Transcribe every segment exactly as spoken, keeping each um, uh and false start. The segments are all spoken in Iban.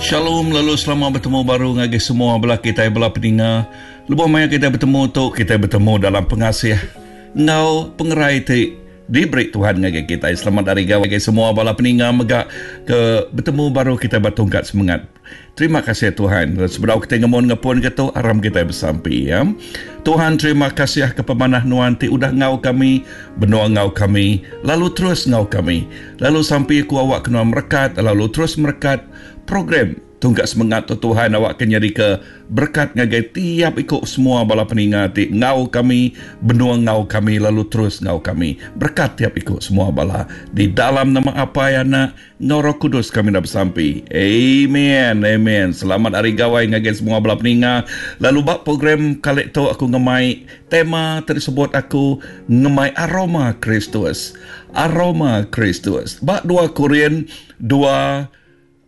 Shalom, lalu selamat bertemu baru ngagai semua bela kita bela peninga. Lebuh maya kita bertemu tu, kita bertemu dalam pengasih ngau pengerai ti diberi Tuhan ngagai kita. Selamat hari gawai ngagai semua bala peninga mega ke bertemu baru kita bertungkat semangat. Terima kasih Tuhan. Sebelum kita ngemon ngepun ke tu, aram kita bersampi ya. Tuhan, terima kasih ke pemanah nuan ti udah ngau kami, benua ngau kami, lalu terus ngau kami. Lalu sampi ku awak kena merekat, lalu terus merekat program Tungkat Semangat tu Tuhan, awak kena jadi ke berkat ngagai tiap ikut semua bala peninga ti ngau kami, benua ngau kami, lalu terus ngau kami. Berkat tiap ikut semua bala. Di dalam nama Apai, Anak, ngau Roh Kudus kami dah bersampi. Amen. Amen. Selamat hari gawai ngagai semua bala peninga. Lalu bak program kali tu aku ngemai tema tersebut aku ngemai aroma Kristus. Aroma Kristus. Bak dua Korin dua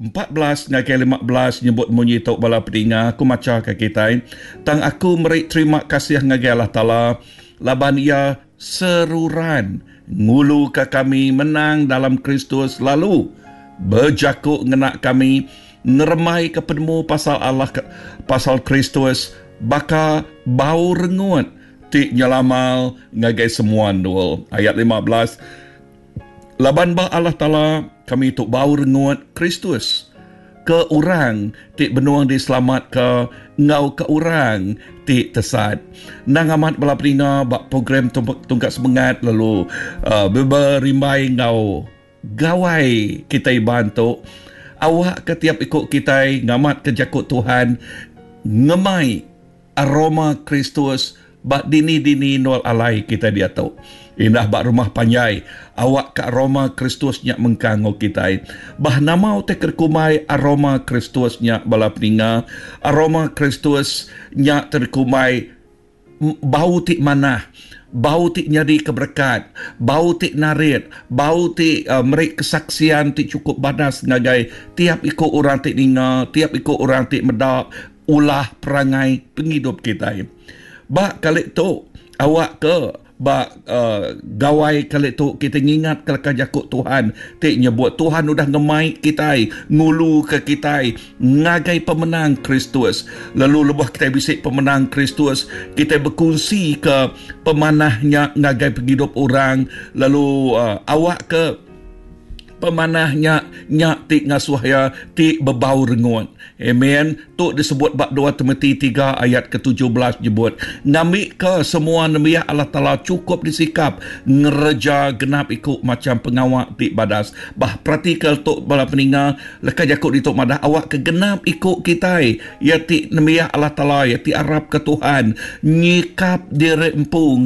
empat belas ngagai lima belas nyebut munyi tok bala peninga aku maca ke kita. Tang aku meri terima kasih ngagai Allah Taala laban ia seruran ngulu ke kami menang dalam Kristus lalu berjakuk ngena kami ngeremai ke penemu pasal Allah pasal Kristus baka bau rengut ti nyelamal ngagai semua ndul. Ayat lima belas, laban ba Allah Taala kami tu bau rengut Kristus ke orang ti benuang diselamat ke ngau ke orang ti tesat. Nang amat bala peninga bak program Tungkat Semangat lalu uh, berimbai ngau gawai kita bantu awak ke tiap ikut kita ngamat ke jakut Tuhan ngemai aroma Kristus bak dini-dini nol alai kita dia tu. Indah bak rumah panjai awak ke aroma Kristus nyak mengkang ngau kita. Bah nama utai kerkumai aroma Kristus nyak bala peninga, aroma Kristus nyak terkumai bau ti manah, bau ti nyadi keberkat, bau ti narit, bau ti uh, meri kesaksian ti cukup badas ngagai tiap ikut orang ti ninga, tiap ikut orang ti medak ulah perangai penghidup kita. Bak kali tu awak ke bak uh, gawai kali tu kita ngingat ke jakut Tuhan ti nyebut Tuhan udah ngemai kita ngulu ke kita ngagai pemenang Kristus. Lalu lebuh kita bisik pemenang Kristus, kita berkongsi ke pemanahnya ngagai penghidup orang. Lalu uh, awak ke pemanahnya nyak ti ngasuh ya ti bebau rengut. Amen. Tu disebut bab dua Timothy tiga ayat ke tujuh belas nyebut ngambi ke semua nembiak Allah Taala cukup disikap ngereja genap ikut macam pengawak ti badas. Bah praktikal tu bala peninga leka jakuk dituk madah awak ke genap ikut kita ya ti nembiak Allah Taala ya ti arap ke Tuhan nyikap diri empu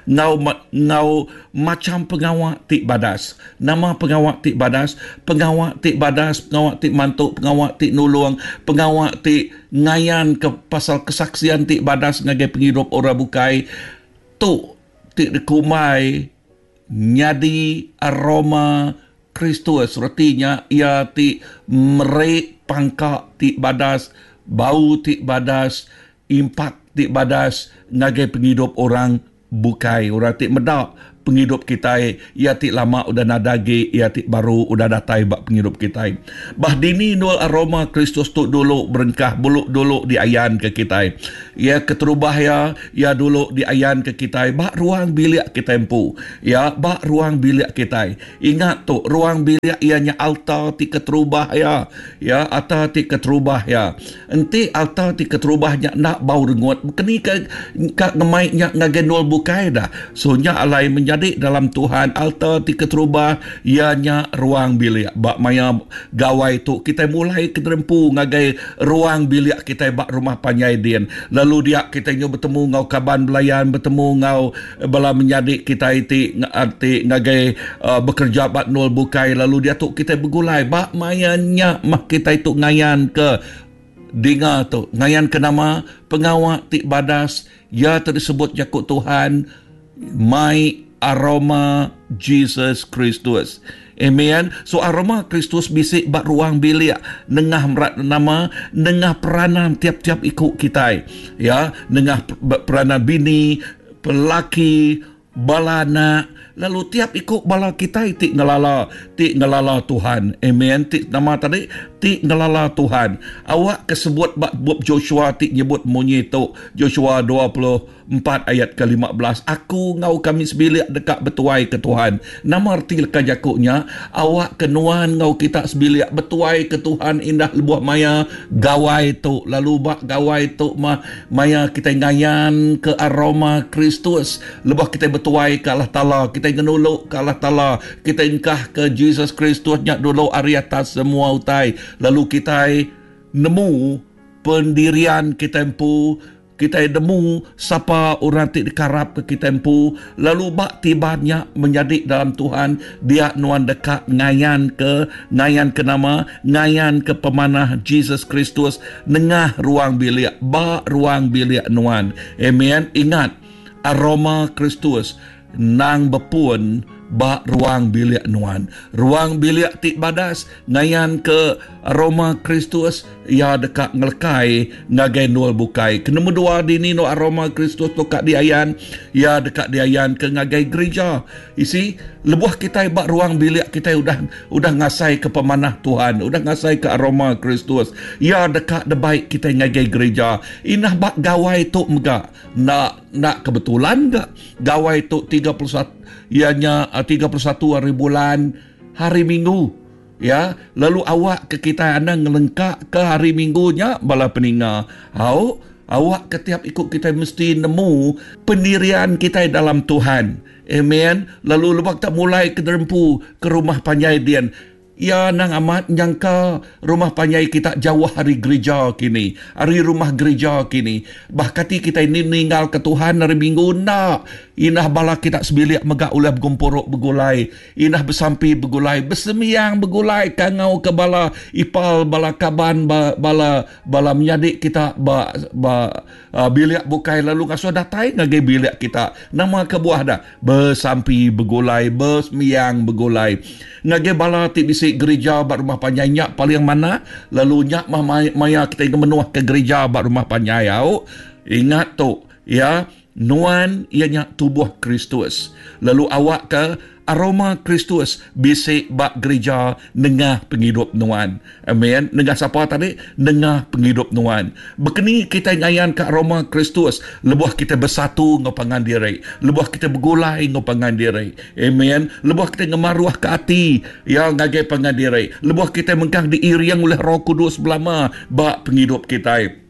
ngau ngau macam pengawak ti badas. Nama pengawak ti badas, pengawak ti badas, pengawak ti mantuk, pengawak ti nulung, pengawak ti ngayan ke pasal kesaksian ti badas ngagai penghidup orang bukai tu ti dikumai nyadi aroma Kristus. Retinya ia ti merik pangkak ti badas, bau ti badas, impak ti badas ngagai penghidup orang bukai. Orang ti medak penghidup kita, ia ti lama udah nadagi, ia ti baru udah datai bak penghidup kita. Bah dini nul aroma Kristus tu dulu berengkah buluk dulu diayan ke kita. Ia keterubah ya, ia dulu diayan ke kita bak ruang bilik kita empu. Ya, bak ruang bilik kita. Ingat tu, ruang bilik ianya altar ti keterubah ya. Ya, altar ti keterubah ya. Enti altar ti keterubahnya nak bau rengut, keni ke ka ngemai nya ngagai nul bukai dah. So nya alai menjadi jadi dalam Tuhan altar ti keterubah ianya ruang bilik. Bak maya gawai tu kita mulai kederempu ngagai ruang bilik kita bak rumah panjai din. Lalu dia kita nyu bertemu ngau kaban belayan, bertemu ngau bala menyadik kita ti ti ngagai uh, bekerja bak nul bukai. Lalu dia tu kita bergulai bak maya nya mah kita itu ngayan ke dinga tu ngayan ke nama pengawak ti badas ya tersebut jakut Tuhan mai aroma Jesus Kristus. Amen. So aroma Kristus bisik bak ruang bilik nengah merat nama nengah peranan tiap-tiap ikut kita. Ya, nengah peranan bini, pelaki, bala anak, lalu tiap ikut bala kita ti ngelala, ti ngelala Tuhan. Amen. Ti nama tadi ti ngelala Tuhan. Awak kesebut bab Joshua ti nyebut munyi tu, Joshua dua puluh empat ayat ke lima belas, aku ngau kami sebilik dekat bertuai ke Tuhan. Nama erti leka jakuknya, awak ke nuan ngau kita sebilik bertuai ke Tuhan indah lebuh maya gawai tu, lalu bak gawai tu mah maya kita ngayan ke aroma Kristus, lebuh kita bertuai ke Allah Taala, kita ngenuluk ke Allah Taala, kita engkah ke Jesus Kristus nyak dulu ari atas semua utai, lalu kita nemu pendirian kita empu, kita nemu siapa orang ti dikarap ke kita empu, lalu bak tibannya menjadi dalam Tuhan, dia nuan dekat ngayan ke, ngayan ke nama, ngayan ke pemanah Jesus Kristus nengah ruang bilik, bak ruang bilik nuan. Amen. Ingat, aroma Kristus nang bepun bak ruang bilik nuan. Ruang bilik ti badas ngayan ke aroma Kristus, ia dekat ngelekai ngagai nul bukai. Kenemu dua dini no aroma Kristus tu kat diayan, ia dekat diayan ke ngagai gereja. Isi lebuh kita bak ruang bilik kita udah udah ngasai ke pemanah Tuhan, udah ngasai ke aroma Kristus, ia dekat debaik kita ngagai gereja. Inah bak gawai tu mega nak nak kebetulan gak gawai tu tiga puluh satu, ianya tiga puluh satu hari bulan hari Minggu, ya. Lalu awak ke kita anda ngelengkak ke hari Minggunya bala peninga. Au awak ketiap ikut kita mesti nemu pendirian kita dalam Tuhan. Amen. Lalu lebak tak mulai ke derempu ke rumah panjai dian. Ya nang amat nyangka rumah panjai kita jauh hari gereja kini, hari rumah gereja kini. Bahkan kita ini meninggal ke Tuhan hari Minggu nak. Inah bala kita sebilik megak ulah bergumpuruk begulai, inah bersampi begulai, bersemiang begulai kangau ke bala ipal, bala kaban, ba, bala bala menyadik kita ba, ba uh, bilik bukai lalu ngasuh datai ngagai bilik kita. Nama kebuah dah bersampi begulai, bersemiang begulai. Ngagai bala ti bisi gereja bak rumah panjai nyak paling mana, lalu nyak mah maya kita ingin menuah ke gereja bak rumah panjai au. Ingat tu ya, nuan ianya tubuh Kristus. Lalu awak ke aroma Kristus bisik bak gereja nengah penghidup nuan. Amen. Nengah siapa tadi? Nengah penghidup nuan. Bekeni kita ngayan ke aroma Kristus, lebuh kita bersatu ngau pangan diri, lebuh kita bergulai ngau pangan diri. Amen. Lebuh kita ngemaruah ke hati ya ngagai pangan diri, lebuh kita mengkang diiriang oleh Roh Kudus belama bak penghidup kita.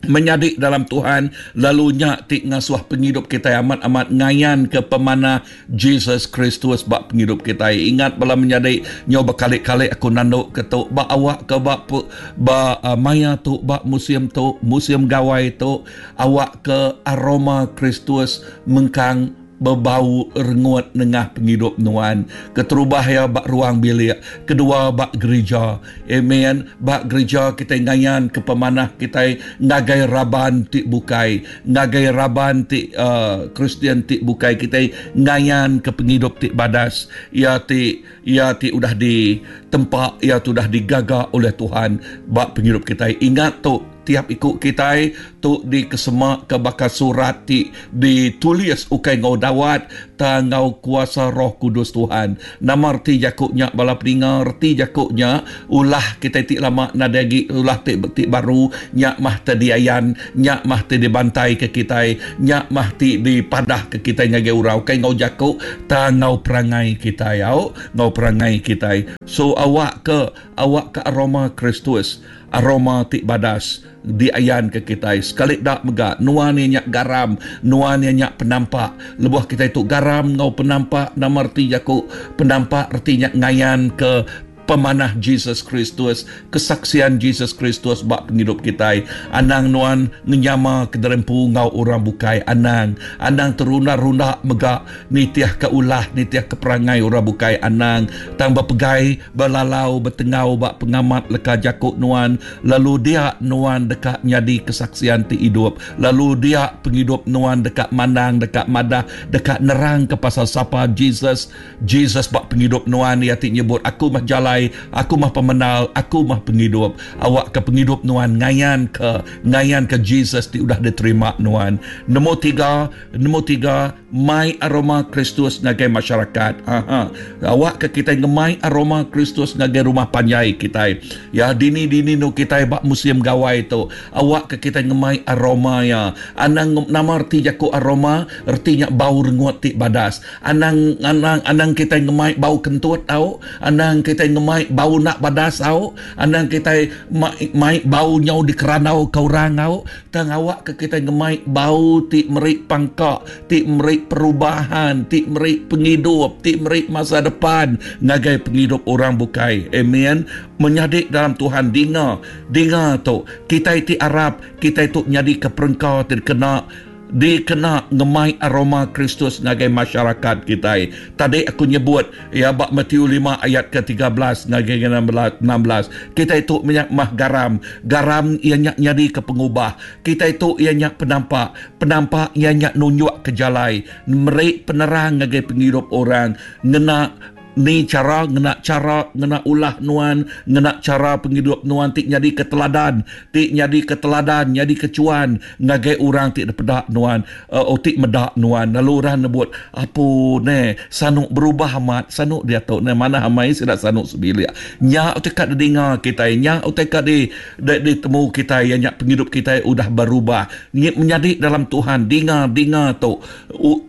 Menyadik dalam Tuhan, lalu nyak ti ngasuh penghidup kita amat-amat ngayan ke pemanah Jesus Kristus bak penghidup kita. Ingat bala menyadik, nyo berkali-kali aku nanduk ke tu, bak awak ke bak bak uh, maya tu, bak musim tu, musim gawai tu, awak ke aroma Kristus mengkang berbau rengut nengah penghidup nuan. Keterubah ya bak ruang bilik, kedua bak gereja. Amen. Bak gereja kita ngayan ke pemanah kita ngagai raban ti bukai, ngagai raban ti uh, Kristian ti bukai, kita ngayan ke penghidup ti badas. Ya ti ya ti udah ditempa, ya tu udah digaga oleh Tuhan bak penghidup kita. Ingat tu, tiap ikut kita tu di kesemak ke bakal surat ti ditulis ukai ngau dawat ta ngau kuasa Roh Kudus Tuhan. Nama erti jakuknya bala peninga, erti jakuknya ulah kita ti lama nadagi ulah ti, ti baru nyak mah te diayan, nyak mah te dibantai ke kita, nyak mah ti dipadah ke kita ngagai urau ukai ngau jakuk ta ngau perangai kita au ngau perangai kita. So awak ke awak ke aroma Kristus, aroma ti badas diayan ke kita. Sekali dak mega nuan nyak garam, nuan nyak penampak. Lebuh kita itu garam ngau penampak, nama erti jaku penampak ertinya ngayan ke pemanah Jesus Kristus, kesaksian Jesus Kristus bak penghidup kita. Anang nuan ngenyama ke derempu ngau orang bukai. Anang, anang terunda-runda mega nitiah ke ulah, nitiah ke perangai orang bukai. Anang tang berpegai, berlalau, bertengau bak pengamat leka jakuk nuan. Lalu dia nuan dekat nyadi kesaksian ti hidup. Lalu dia penghidup nuan dekat mandang, dekat madah, dekat nerang ke pasal sapa Jesus. Jesus bak penghidup nuan ia ti nyebut aku mah jalan, jalai, aku mah pemenal, aku mah penghidup. Awak ke penghidup nuan ngayan ke ngayan ke Jesus ti udah diterima nuan. Nombor tiga, nombor tiga, mai aroma Kristus ngagai masyarakat. Aha. Awak ke kita ngemai aroma Kristus ngagai rumah panjai kita. Ya, dini-dini nu kita bak musim gawai tu. Awak ke kita ngemai aroma ya. Anang nama erti jaku aroma, ertinya bau rengut ti badas. Anang anang anang kita ngemai bau kentut tau, anang kita ngemai bau nak badas tau, anang kita mai, mai bau nyau di keranau ke orang tau. Tang awak ke kita ngemai bau ti meri pangkak, ti meri perubahan, ti meri penghidup, ti meri masa depan ngagai penghidup orang bukai. Amen. Menyadik dalam Tuhan, dinga, dinga tu. Kita ti Arab, kita tu nyadi ke perengkau terkena dikena ngemai aroma Kristus ngagai masyarakat kita. Tadi aku nyebut ya bab Matius lima ayat ke tiga belas ngagai enam belas. Kita itu minyak mah garam. Garam ia nyak nyadi ke pengubah. Kita itu ia nyak penampak. Penampak ia nyak nunjuk ke jalai. Merik penerang ngagai penghidup orang. Ngena ni cara, ngena cara, ngena ulah nuan, ngena cara penghidup nuan ti nyadi keteladan, ti nyadi keteladan, nyadi kecuan ngagai orang ti pedak nuan, uh, ti medak nuan. Lalu orang nebut, apu ne, sanuk berubah amat, sanuk dia tu ne mana amai sidak sanuk sebilik. Nya utai kat dinga kita, nya utai kat di, di ditemu kita, ya nya penghidup kita udah berubah. Ni menyadi dalam Tuhan, dinga dinga tu.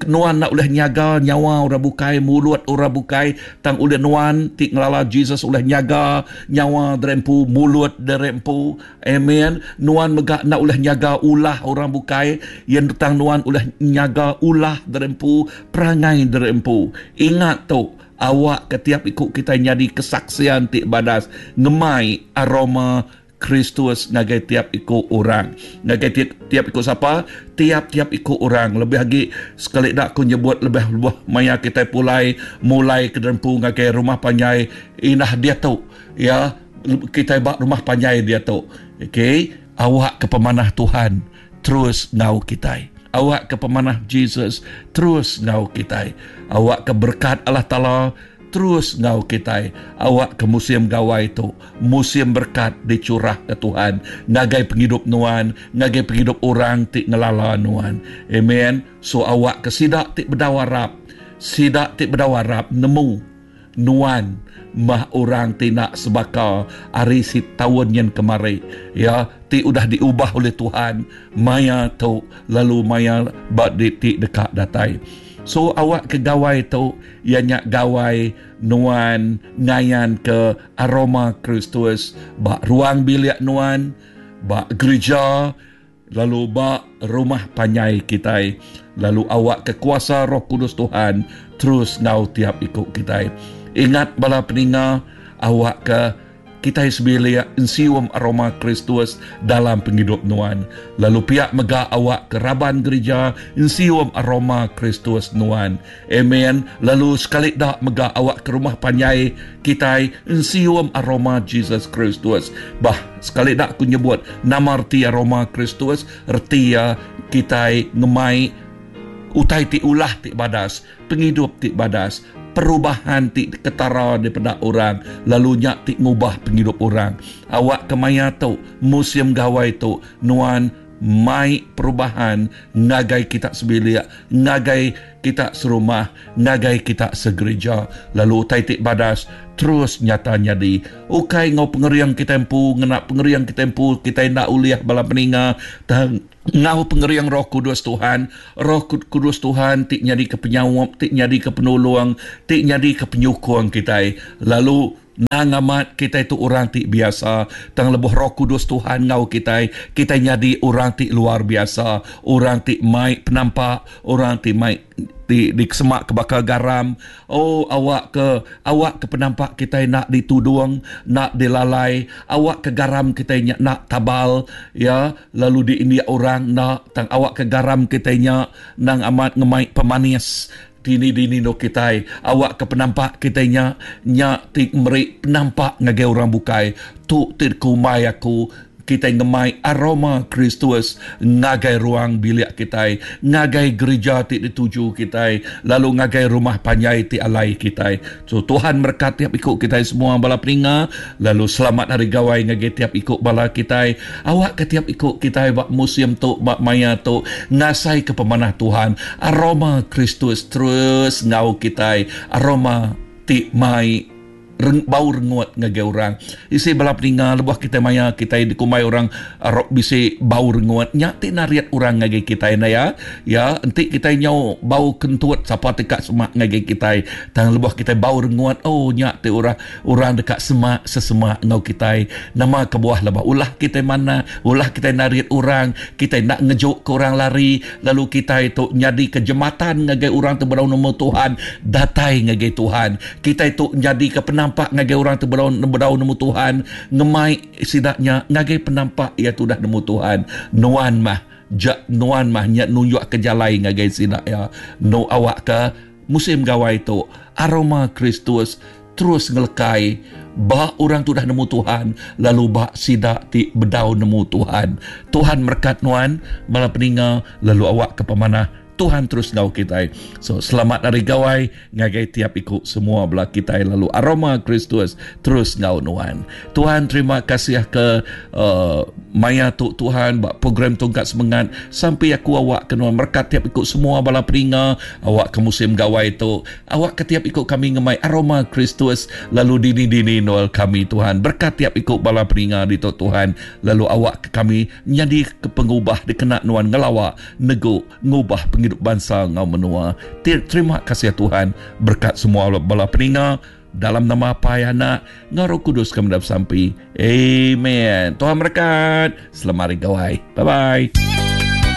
Nuan nak boleh nyaga nyawa orang bukai, mulut orang bukai. Tang oleh nuan ti ngelala Jesus oleh nyaga nyawa derempu, mulut derempu. Amen. Nuan megak nak oleh nyaga ulah orang bukai, yang tang nuan oleh nyaga ulah derempu, perangai derempu. Ingat tu, awak ketiap ikut kita nyadi kesaksian ti badas ngemai aroma Kristus ngagai tiap ikut orang. Ngagai tiap, tiap ikut siapa? Tiap-tiap ikut orang. Lebih lagi sekali dak aku nyebut lebih buah maya kita pulai mulai ke derempu ngagai rumah panjai inah dia tu. Ya, kita bak rumah panjai dia tu. Okey, awak ke pemanah Tuhan terus ngau kita. Awak ke pemanah Jesus terus ngau kita. Awak ke berkat Allah Taala terus ngau kita. Awak ke musim gawai tu, musim berkat dicurah ke Tuhan ngagai penghidup nuan, ngagai penghidup orang ti ngelala nuan. Amen. So awak ke sidak ti berdawarap, sidak ti berdawarap nemu nuan mah orang ti nak sebaka ari si tahun yang kemari, ya, ti udah diubah oleh Tuhan maya tu lalu maya bak di ti dekat datai. So awak ke gawai tu ia nyak gawai nuan ngayan ke aroma Kristus bak ruang bilik nuan, bak gereja, lalu bak rumah panjai kita. Lalu awak ke kuasa Roh Kudus Tuhan terus ngau tiap ikut kita. Ingat bala peninga, awak ke kita sebilik ensium aroma Kristus dalam penghidup nuan. Lalu pihak megak awak ke raban gereja ensium aroma Kristus nuan. Amen. Lalu sekali dak megak awak ke rumah panjai kita ensium aroma Jesus Kristus. Bah, sekali dak aku nyebut nama erti aroma Kristus, erti ya kita ngemai utai ti ulah ti badas, penghidup ti badas, perubahan ti ketara daripada orang, lalu nyak ti ngubah penghidup orang. Awak kemaya tu, musim gawai tu, nuan mai perubahan ngagai kita sebilik, ngagai kita serumah, ngagai kita segereja. Lalu utai ti badas terus nyata nyadi. Ukai ngau pengeriang kita empu, ngena pengeriang kita empu, kita nak uliah bala peninga, tang ngau pengeriang Roh Kudus Tuhan. Roh Kudus Tuhan ti nyadi ke penyawap, ti nyadi ke penolong, ti nyadi ke penyukung kita. Lalu nang amat kita itu orang ti biasa, tang lebuh Roh Kudus Tuhan ngau kita, kita nyadi orang ti luar biasa, orang ti mai penampak, orang ti mai di di semak ke bakal garam. Oh, awak ke awak ke penampak kita nak ditudung, nak dilalai, awak ke garam kita nyak nak tabal, ya, lalu di India orang nak tang awak ke garam kita nyak nang amat ngemai pemanis. Dini-dini no kita, awak ke penampak kita nya nyak ti meri penampak ngagai orang bukai. Tu ti kumai aku kita ngemai aroma Kristus ngagai ruang bilik kita, ngagai gereja ti dituju kita, lalu ngagai rumah panjai ti alai kita. So Tuhan berkat tiap ikut kita semua bala peninga, lalu selamat hari gawai ngagai tiap ikut bala kita. Awak ke tiap ikut kita bak musim tu, bak maya tu, ngasai ke pemanah Tuhan. Aroma Kristus terus ngau kita, aroma ti mai reng, bau rengut ngagai orang. Isi bala peninga lebuh kita maya kita dikumbai orang arok bisi bau rengut nya ti nariat orang ngagai kita na ya. Ya, enti kita nyau bau kentut sapa dekat semak ngagai kita. Tang lebuh kita bau rengut, oh nya ti orang orang dekat semak sesemak ngau kita. Nama kebuah lebah ulah kita mana, ulah kita nariat orang, kita nak ngejuk ke orang lari, lalu kita itu nyadi ke jematan ngagai orang tu berau nemu Tuhan, datai ngagai Tuhan. Kita itu nyadi ke penampak ngagai orang tu berau berau nemu Tuhan, ngemai sidaknya ngagai penampak ia tu dah nemu Tuhan. Nuan mah ja nuan mah nya nunjuk ke jalai ngagai sidak ya. No awak ke musim gawai tu aroma Kristus terus ngelekai ba orang tu dah nemu Tuhan, lalu ba sidak ti bedau nemu Tuhan. Tuhan berkat nuan bala peninga, lalu awak ke pemanah Tuhan terus ngau kita. So selamat hari gawai ngagai tiap ikut semua bela kita, lalu aroma Kristus terus ngau nuan. Tuhan terima kasih ke uh, maya tu Tuhan bak program tongkat semangat sampai aku awak ke nuan berkat tiap ikut semua bala peninga, awak ke musim gawai tu, awak ke tiap ikut kami ngemai aroma Kristus, lalu dini-dini Noel kami Tuhan berkat tiap ikut bala peninga di tu Tuhan, lalu awak ke kami nyadi ke pengubah dikena nuan ngelawak negu ngubah hidup bangsa ngau menua. Terima kasih Tuhan, berkat semua bala peninga dalam nama Apai, Anak, ngau Roh Kudus kami dapat sampai. Amen. Tuhan berkat. Selamat hari gawai. Bye bye.